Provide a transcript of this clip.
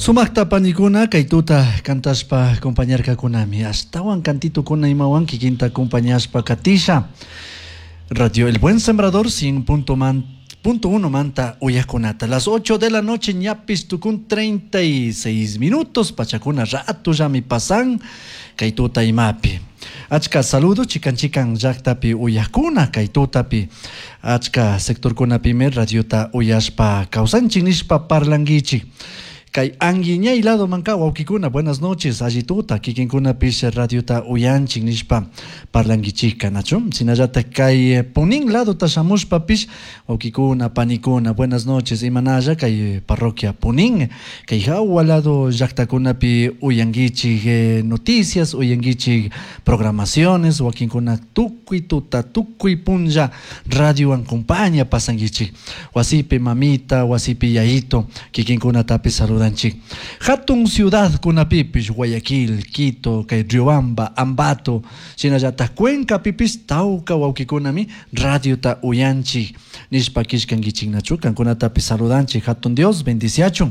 Sumaqta panikuna kay tuta kantashpa acompañarkakunami ashtawan kantitukuna imawan kikinta acompañashpa katisha. Radio El Buen Sembrador 100.1 manta uyakunata. Las 8 de la noche ñapis tukun 36 minutos pachakuna ratullami pasan kay tuta imapi. Achka saludo chikan chikan llaktapi uyakuna kay tutapi achka sectorkunapimi radiota uyashpa kawsanchik nishpa parlankichik. Kay anguiñay lado manka wawkikuna buenas noches allituta kikinkunapish radiota uyanchik nishpa parlankichikka nachu shinallatak kay Punin ladota shamushpapish wawkikuna panikuna buenas noches imanalla kay parroquia Punin kay hawa lado llaktakunapi uyankichik noticias uyankichik programaciones wakinkuna tukuy tuta tukuy punlla radiowan compaña pasankichik wasipi mamita wasipi yayito kikinkunatapish saludanchik. Hatun ciudad kunapipish Guayaquil, Quito, kay Riobamba, Ambato, shinallatak Cuencapipish tawka wawkikunami radiota uyanchik nishpa killkankichiknachu kankunatapish saludanchik hatun Dios bendiciachun.